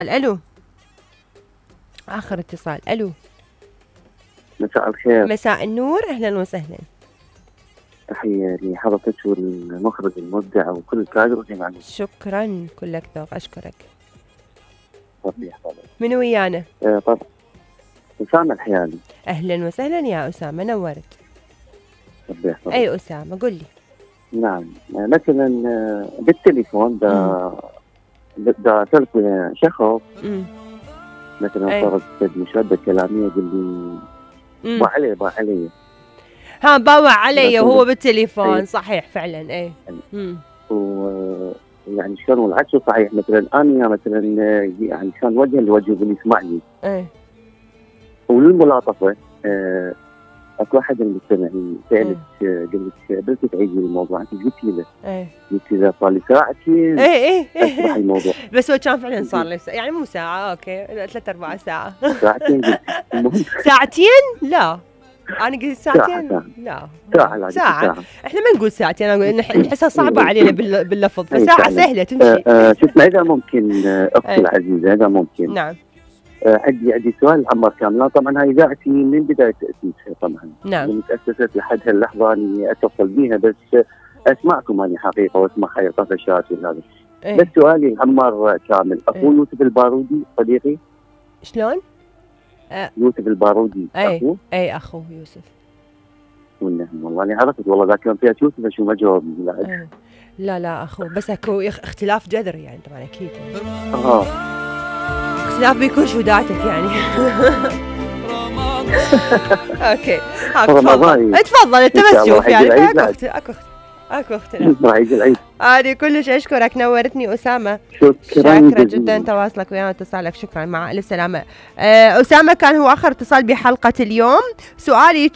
الو، اخر اتصال. الو، مساء الخير. مساء النور، اهلا وسهلا. تحية لحضرتك والمخرج المبدع وكل الكادر والجماعة. شكرا، كلك ذوق، اشكرك. ربي يحفظك. من ويانا؟ طبعا أسامة الحيالي. اهلا وسهلا يا اسامة، نورت. ربي يحفظك. اي اسامة، قل لي. نعم، مثلا بالتليفون دا تلقي شخص مثلا فرض مشادة كلامية يقول لي با علي ها باوع علي وهو بالتليفون. صحيح فعلا. اي يعني شلون والعكس صحيح. مثلا انا مثلا يعني كان وجها لوجه يقول يسمعني. وللملاطفه اكو واحد من المستمعين سالت قلت بس تعيدي الموضوع. انت قلت له قلت له صار لي ساعتين اصبح الموضوع. بس هو كان فعلا صار لي يعني مو ساعه، اوكي 3/4 ساعه. ساعتين قلت. ساعتين؟ لا انا قلت ساعتين. لا ساعة. احنا ما نقول ساعتين، نقول نحسها صعبة علينا باللفظ، فساعة سهلة تمشي. شوف اذا ممكن اختي العزيزة، اذا ممكن. نعم. عندي سؤال عمر كاملان. طبعا هاي اذاعتي من بداية تأسيسها طبعا. نعم. من تأسست لحد هاللحظة اني اتصل بيها، بس اسمعكم اني حقيقة واسمع هاي طفشات وهذا. بس سؤالي عمر كامل، اخو يوسف البارودي صديقي. شلون؟ يوسف البارودي اخوه؟ اي اخوه يوسف. والله اني عرفت والله ذاك يوم فيها يوسف شو ما جاوبني. لا اخوه، بس اكو اختلاف جذري يعني طبعا اكيد. اختلاف بيكون شو ذاتك يعني. اوكي تفضل انت بس شوف يعني اكو اختلاف. هذه كلش اشكرك، نورتني اسامه. شكرا جدا تواصلك ويانا واتصالك. شكرا، مع الف سلامه. اسامه كان هو اخر اتصال بحلقه اليوم. سؤالي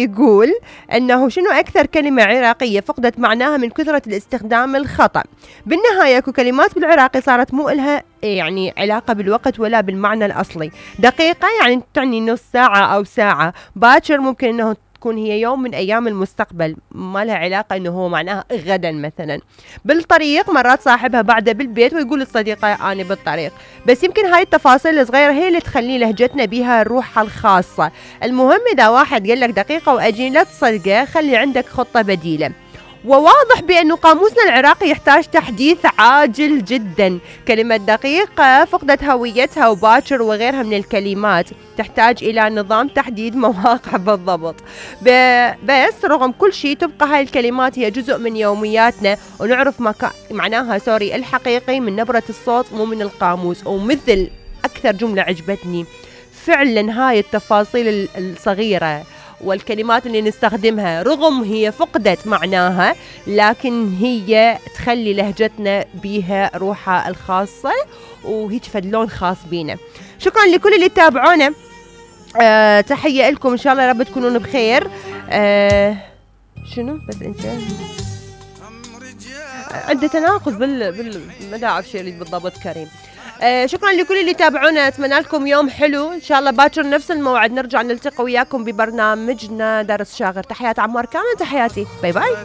يقول انه شنو اكثر كلمه عراقيه فقدت معناها من كثره الاستخدام الخطا؟ بالنهايه اكو كلمات بالعراقي صارت مو الها يعني علاقه بالوقت ولا بالمعنى الاصلي. دقيقه يعني تعني نص ساعه او ساعه. باكر ممكن انه تكون هي يوم من أيام المستقبل، ما لها علاقة إنه هو معناها غدا مثلا. بالطريق مرات صاحبها بعده بالبيت ويقول للصديقة أنا بالطريق. بس يمكن هاي التفاصيل الصغيرة هي اللي تخلي لهجتنا بها روحها الخاصة. المهم إذا واحد قال لك دقيقة وأجي لا تصدقه، خلي عندك خطة بديلة. وواضح بأنه قاموسنا العراقي يحتاج تحديث عاجل جدا. كلمة دقيقة فقدت هويتها، وباكر وغيرها من الكلمات تحتاج إلى نظام تحديد مواقع بالضبط. بس رغم كل شيء تبقى هاي الكلمات هي جزء من يومياتنا، ونعرف معناها الحقيقي من نبرة الصوت مو من القاموس. ومثل أكثر جملة عجبتني فعلا هاي التفاصيل الصغيرة والكلمات اللي نستخدمها، رغم هي فقدت معناها لكن هي تخلي لهجتنا بيها روحها الخاصة وهيك فدلون خاص بينا. شكرا لكل اللي تابعونا. تحية لكم، إن شاء الله يا رب تكونون بخير. شنو بس أنت عنده تناقض ما أعرف شيء بالضبط. كريم. شكرا لكل اللي تابعونا، اتمنى لكم يوم حلو ان شاء الله. باكر نفس الموعد نرجع نلتقي وياكم ببرنامجنا درس شاغر. تحيات عمار كامل، تحياتي، باي باي.